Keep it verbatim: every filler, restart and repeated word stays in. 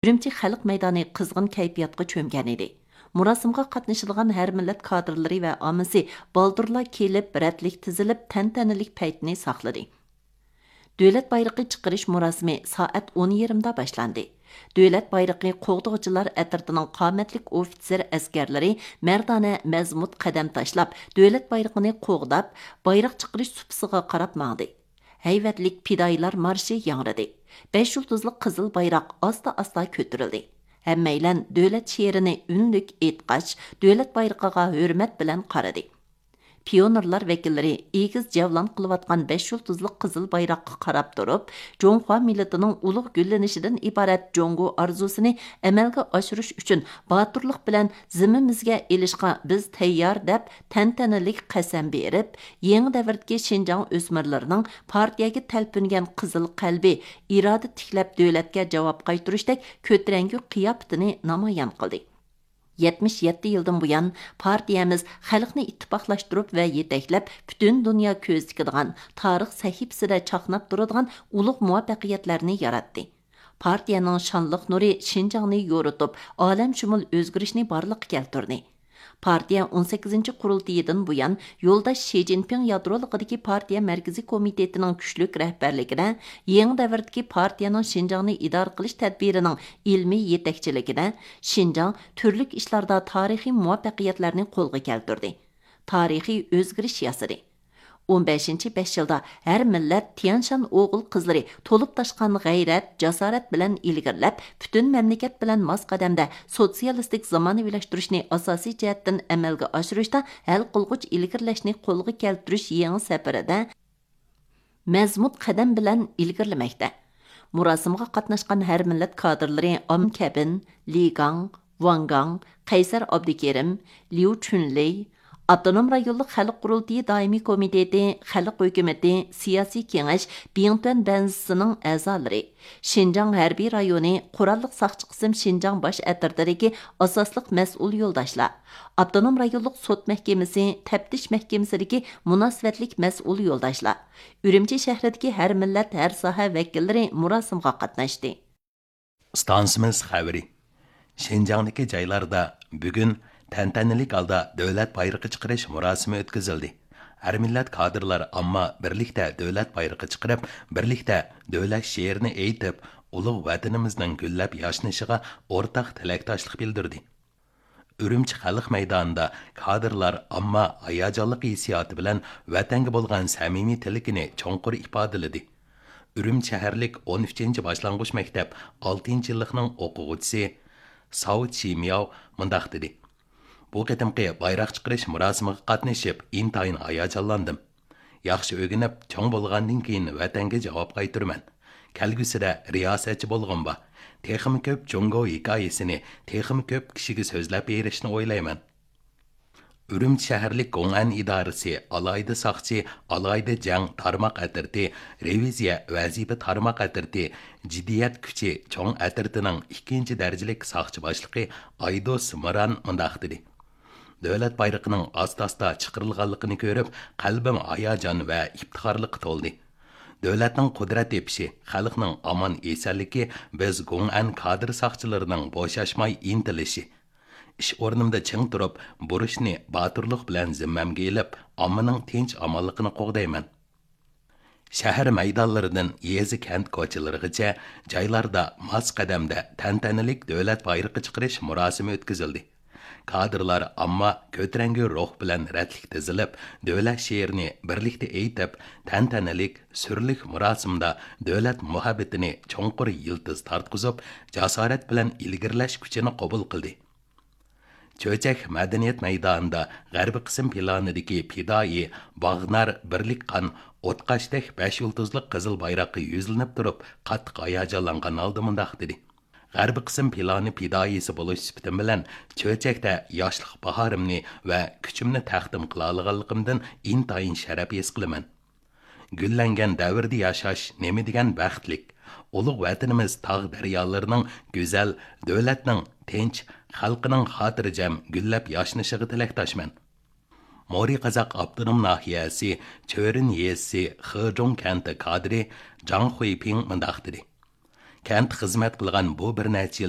ئۈرۈمچى خەلق مەيدانى قىزغىن كەيپىياتقا چۆمگەن ئىدى. مۇراسىمغا قاتنىشىدىغان ھەر مىللەت كادىرلىرى ۋە ئاممىسى بالدۇرلا كېلىپ، رەتلىك تىزىلىپ، تەنتەنىلىك پەيتنى ساقلىدى. دۆلەت بايرىقى چىقىرىش مۇراسىمى سائەت ئون يېرىمدا باشلاندى. دۆلەت بايرىقى قوغدىغۇچىلار ئەترىتىنىڭ قامەتلىك ئوفىتسېر ئەسكەرلىرى مەردانە، مەزمۇت قەدەم تاشلاپ، دۆلەت بايرىقىنى قوغداپ، بايراق چىقىرىش سۇپىسىغا قاراپ ماڭدى. ھەيۋەتلىك پىدائىيلار مارشى ياڭرىدى. بەش يۇلتۇزلۇق قىزىل بايراق ئاستا-ئاستا كۆتۈرۈلدى. ھەممەيلەن دۆلەت شېئىرىنى ئۈنلۈك ئېيتقاچ، دۆلەت بايرىقىغا ھۆرمەت بىلەن قارىدى. پىيونېرلار ۋەكىللىرى ئېگىز جەۋلان قىلىۋاتقان بەش يۇلتۇزلۇق قىزىل بايراققا قاراپ تۇرۇپ، جۇڭخۇا مىللىتىنىڭ ئۇلۇغ گۈللىنىشىدىن ئىبارەت جۇڭگو ئارزۇسىنى ئەمەلگە ئاشۇرۇش ئۈچۈن باتۇرلۇق بىلەن زىممىمىزگە ئېلىشقا بىز تەييار، دەپ تەنتەنىلىك قەسەم بېرىپ، يېڭى دەۋردىكى شىنجاڭ ئۆسمۈرلىرىنىڭ پارتىيەگە تەلپۈنگەن قىزىل قەلبى، ئىرادە تىكلەپ دۆلەتكە جاۋاب قايتۇرۇشتەك كۆتۈرەڭگۈ قىياپىتىنى نامايان قىلدى. يەتمىش يەتتە يىلدىن بۇيان، پارتىيەمىز خەلقنى ئىتتىپاقلاشتۇرۇپ ۋە يېتەكلەپ، پۈتۈن دۇنيا كۆز تىكىدىغان تارىخ سەھىپىسىدە چاقناپ تۇرىدىغان ئۇلۇغ مۇۋەپپەقىيەتلەرنى ياراتتى. پارتىيەنىڭ شانلىق نۇرى شىنجاڭنى يورۇتۇپ، ئالەمشۇمۇل ئۆزگىرىشنى بارلىققا كەلتۈردى. پارتىيە ئون سەككىزىنچى قۇرۇلتىيىدىن بۇيان، يولداش شى جىنپىڭ يادرولۇقىدىكى پارتىيە مەركىزىي كومىتېتىنىڭ كۈچلۈك رەھبەرلىكىدە، يېڭى دەۋردىكى پارتىيەنىڭ شىنجاڭنى ئىدارە قىلىش تەدبىرىنىڭ ئىلمىي يېتەكچىلىكىدە، شىنجاڭ تۈرلۈك ئىشلاردا تارىخىي مۇۋەپپەقىيەتلەرنى قولغا كەلتۈردى، تارىخىي ئۆزگىرىش ياسىدى. ئون بەشىنچى بەش يىلدا ھەر مىللەت تيەنشان ئوغۇل-قىزلىرى تولۇپ تاشقان غەيرەت، جاسارەت بىلەن ئىلگىرىلەپ، پۈتۈن مەملىكەت بىلەن ماس قەدەمدە سوتسىيالىستىك زامانىۋىلاشتۇرۇشنى ئاساسىي جەھەتتىن ئەمەلگە ئاشۇرۇشتا ھەل قىلغۇچ ئىلگىرىلەشنى قولغا كەلتۈرۈش يېڭى سەپىرىدە مەزمۇت قەدەم بىلەن ئىلگىرىلىمەكتە. مۇراسىمغا قاتناشقان ھەر مىللەت كادىرلىرى ئام كەبىن، لى گاڭ، ۋاڭ گاڭ، قەيسەر ئابدۇكېرىم، ليۇ چۈنلېي، ئاپتونوم رايونلۇق خەلق قۇرۇلتىيى دائىمىي كومىتېتى، خەلق ھۆكۈمىتى، سىياسىي كېڭەش، بىڭتۈەن بەنزىسىنىڭ ئەزالىرى، شىنجاڭ ھەربىي رايونى قوراللىق ساقچى قىسىم شىنجاڭ باش ئەترىتىدىكى ئاساسلىق مەسئۇل يولداشلار، ئاپتونوم رايونلۇق سوت مەھكىمىسى تەپتىش مەھكىمىسىدىكى مۇناسىۋەتلىك مەسئۇل يولداشلار، ئۈرۈمچى شەھىرىدىكى ھەر مىللەت، ھەر ساھە ۋەكىللىرى مۇراسىمغا قاتناشتى. ئىستانسىمىز خەۋىرى. شىنجاڭدىكى جايلاردا بۈگۈن تەنتەنىلىك ھالدا دۆلەت بايرىقى چىقىرىش مۇراسىمى ئۆتكۈزۈلدى. ھەر مىللەت كادىرلار ئامما بىرلىكتە دۆلەت بايرىقى چىقىرىپ، بىرلىكتە دۆلەت شېئىرىنى ئېيتىپ، ئۇلۇغ ۋەتىنىمىزنىڭ گۈللەپ ياشنىشىغا ئورتاق تىلەكداشلىق بىلدۈردى. ئۈرۈمچى خەلق مەيدانىدا كادىرلار ئامما ھاياجانلىق ھېسسىياتى بىلەن ۋەتەنگە بولغان سەمىمىي تىلىكىنى چوڭقۇر ئىپادىلىدى. ئۈرۈمچى شەھەرلىك ئون ئۈچىنچى باشلانغۇچ مەكتەپ ئالتىنچى يىللىقنىڭ ئوقۇغۇچىسى ساۋ چىمياۋ مۇنداق دېدى: بۇ قېتىمقى بايراق چىقىرىش مۇراسىمىغا قاتنىشىپ، ئىنتايىن ھاياجانلاندىم. ياخشى ئۆگىنىپ، چوڭ بولغاندىن كېيىن ۋەتەنگە جاۋاب قايتۇرىمەن. كەلگۈسىدە رىياسەتچى بولغۇم بار. تېخىمۇ كۆپ جۇڭگو ھېكايىسىنى تېخىمۇ كۆپ كىشىگە سۆزلەپ بېرىشنى ئويلايمەن. ئۈرۈمچى شەھەرلىك گوڭئەن ئىدارىسى ئالاھىدە ساقچى، ئالاھىدە جەڭ تارماق ئەترىتى، رېۋىزىيە ۋەزىپە تارماق ئەترىتى، جىددىيەت كۈچى چوڭ ئەترىتىنىڭ ئىككىنچى دەرىجىلىك ساقچى باشلىقى ئايدوس مىران مۇنداق دېدى: دۆلەت بايرىقىنىڭ ئاستا-ئاستا چىقىرىلغانلىقىنى كۆرۈپ، قەلبىم ھاياجان ۋە ئىپتىخارلىققا تولدى. دۆلەتنىڭ قۇدرەت تېپىشى، خەلقنىڭ ئامان-ئېسەنلىكى، بىز گوڭئەن كادىر ساقچىلىرىنىڭ بوشاشماي ئىنتىلىشى. ئىش ئورنۇمدا چىڭ تۇرۇپ، بۇرچنى باتۇرلۇق بىلەن زىممەمگە ئېلىپ، ئاممىنىڭ تىنچ-ئامانلىقىنى قوغدايمەن. شەھەر مەيدانلىرىدىن يېزا-كەنت كوچىلىرىغىچە جايلاردا ماس قەدەمدە تەنتەنىلىك دۆلەت بايرىقى چىقىرىش مۇراسىمى ئۆتكۈزۈلدى. كادىرلار ئامما كۆتۈرەڭگۈ روھ بىلەن رەتلىك تىزىلىپ، دۆلەت شېئىرىنى بىرلىكتە ئېيتىپ، تەنتەنىلىك، سۈرلۈك مۇراسىمدا دۆلەت مۇھەببىتىنى چوڭقۇر يىلتىز تارتقۇزۇپ، جاسارەت بىلەن ئىلگىرىلەش كۈچىنى قوبۇل قىلدى. چۆچەك مەدەنىيەت مەيدانىدا غەربىي قىسىم پىلانىدىكى پىدائىي باغنار بىرلىك قان ئوتقاشتەك بەش يۇلتۇزلۇق قىزىل بايراققا يۈزلىنىپ تۇرۇپ، قاتتىق ھاياجانلانغان ھالدا مۇنداق دېدى: غەربىي قىسىم پىلانى پىدائىيسى بولۇش سۈپىتىم بىلەن چۆچەكتە ياشلىق باھارىمنى ۋە كۈچۈمنى تەقدىم قىلالىغانلىقىمدىن ئىنتايىن شەرەپ ھېس قىلىمەن. گۈللەنگەن دەۋردە ياشاش نېمە دېگەن بەختلىك! ئۇلۇغ ۋەتىنىمىز تاغ-دەريالىرىنىڭ گۈزەل، دۆلەتنىڭ تىنچ، خەلقنىڭ خاتىرجەم گۈللەپ ياشنىشىغا تىلەكداشمەن. مورى قازاق ئاپتونوم ناھىيەسى چۆرۈن يېزىسى خېجۇڭ كەنتى كادىرى جاڭ خۇيپىڭ مۇنداق دېدى: كەنتتە خىزمەت قىلغان بۇ بىر نەچچە يىل